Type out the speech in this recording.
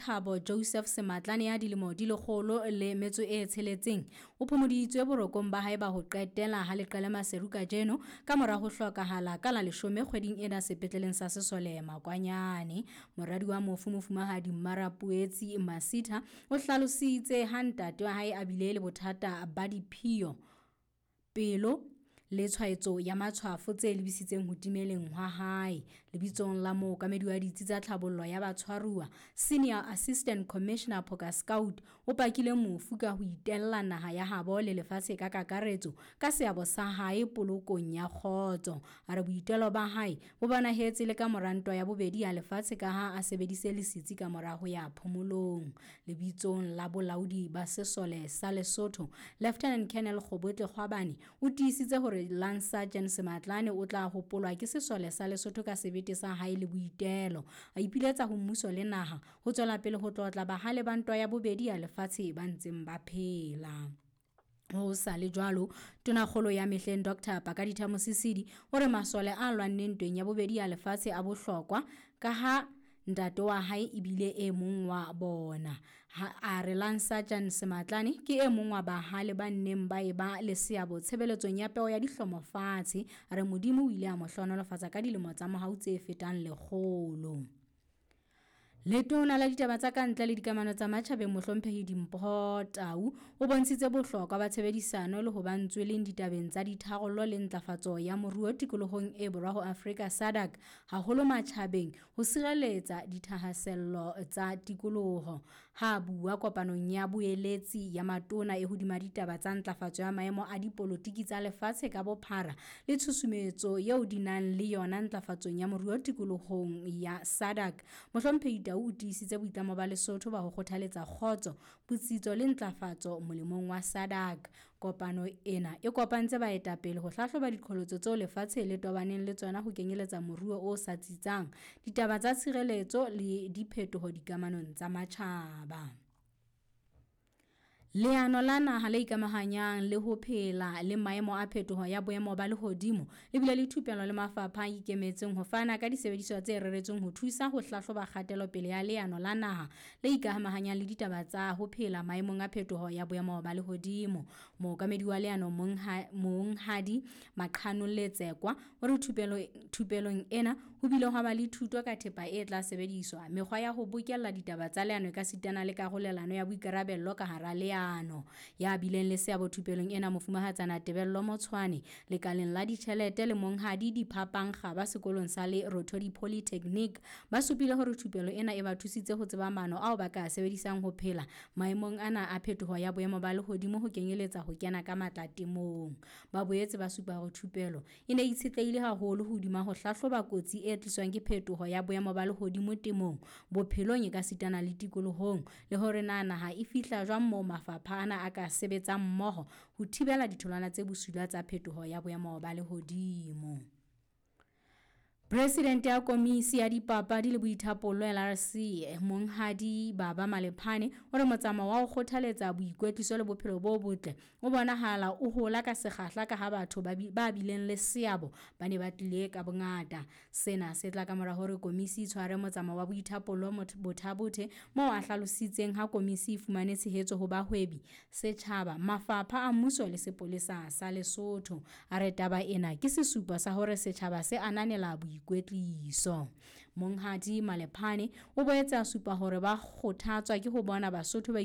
Thabo Joseph Sematlane ya dilemo di 106 o phomoditswe borokong ba hae ba ho qetela ha leqele Maseru kajeno ka mora ho hlokahala ka la 10 kgweding ena sepetleleng sa Sesole Makwanyane. Moradi wa mofu Mofumahadi Mmarapoetsi Masitha o hlalositse ha ntate wa hae a bile le bothata ba diphio, pelo le tshwaetso ya matshwafo tse lebisitseng ho timeleng hwa hae. Lebitsong la mookamedi wa ditsi tsa tlhabollo ya batshwaruwa, Senior Assistant Commissioner Phoka Scout o pakile mofu ka ho itella naha ya habo le lefatshe ka kakaretso ka seabo sa hae polokong ya kgotso. A re boitelo ba hae bo bonahetse le ka mora ntwa ya bobedi ya lefatshe ka ha a sebedise le setsi ka mora ho ya phomolong. Lebitsong la bolaodi ba sesole sa Lesotho, Lieutenant Colonel Kgobotle Kgwabane o tiisitse hore Lance Sergeant Sematlane o tla hopolwa ke sesole sa Lesotho ka sebete sa hae le boitelo. A ipiletsa ho mmuso le naha ho tswela pele ho tlotla bahale ba ntwa ya bobedi ya lefatshe ba ntseng ba phela. Ho sa le jwalo, Tonakgolo ya mehleng Dr. Pakalitha Mosisili o re masole a lwanneng ntweng ya bobedi ya lefatshe a bohlokwa ka ha ntate wa hae ebile e mong wa bona. Ha a re Lance Sergeant Sematlane ke e mong wa bahale ba nneng ba eba le seabo tshebeletsong ya peo ya dihlomo fatshe. A re Modimo o ile a mo hlohonolofatsa ka dilemo tsa mohau tse fetang 100. Letona la ditaba tsa kantle le dikamano tsa matjhabeng Mohlomphehi Dimpho Tau o bontshitse bohlokwa ba tshebedisano le ho ba ntsweleng ditabeng tsa ditharollo le ntlafatso ya moruo tikolohong e borwa ho Afrika SADC haholo matjhabeng ho sireletsa dithahasello tsa tikoloho. Ha bua kopanong ya boeletsi ya matona e hodima ditaba tsa ntlafatso ya maemo a dipolotiki tsa lefatshe ka bophara le tshusumetso eo di nang le yona ntlafatsong ya moruo tikolohong ya SADC. Mohlomphehi Tau o tiisitse boitlamo ba Lesotho ba ho kgothaletsa kgotso, botsitso le ntlafatso molemong wa SADC. Kopano ena e kopantse baetapele ho hlahloba diqholotso tseo lefatshe le tobaneng le tsona ho kenyeletsa moruo o sa tsitsang, ditaba tsa tshireletso le diphetoho dikamanong tsa matjhaba. Leano la naha le ikamahanyang le ho phela le maemo a phetoho ya boemo ba lehodimo le bile le thupelo le mafapha a ikemetseng ho fana ka disebediswa tse reretsweng ho thusa ho hlahloba kgatelopele ya leano la naha le ikamahanyang le ditaba tsa ho phela maemong a phetoho ya boemo ba lehodimo. Mookamedi wa leano Monghadi Maqhano Letsekwa o re thupelong ena ho bile hwa ba le thuto ka thepa e tla sebediswa, mekgwa ya ho bokella ditaba tsa leano ekasitana le karolelano ya boikarabello ka hara leano. Ya bileng le seabo thupelong ena Mofumahatsana Tebello Motshwane lekaleng la ditjhelete le Monghadi Diphapang Kgaba sekolong sa Lerothodi Polytechnic ba supile hore thupelo ena e ba thusitse ho tseba maano ao ba ka sebedisang ho phela maemong ana a phetoho ya boemo ba lehodimo ho kenyeletsa ho kena ka matla temong. Ba boetse ba supa hore thupelo e ne itshetlehile haholo hodima ho hlahloba kotsi e tliswang ke phetoho ya boemo ba lehodimo temong, bophelong ekasitana le tikolohong, le hore na naha e fihla jwang moo mafapha ana a ka sebetsang mmoho ho thibela ditholwana tse bosula tsa phetoho ya boemo ba lehodimo. Presidente ya Komisi ya Dipapadi le Boithapollo LRC Monghadi Baba Malephane o re motsamao wa ho kgothaletsa boikwetliso le bophelo bo botle o bonahala o hola ka sekgahla ka ha batho ba bileng le seabo ba ne ba tlile ka bongata. Sena se tla ka mora hore komisi e tshware motsamao wa boithapollo Botha-Bothe moo a hlalositseng ha komisi e fumane tshehetso ho bahwebi, setjhaba, mafapha a mmuso le sepolesa sa Lesotho. A re taba ena ke sesupo sa hore setjhaba se ananela boikwetliso. Monghadi Malephane o boetse a supa hore ba kgothatswa ke ho bona Basotho ba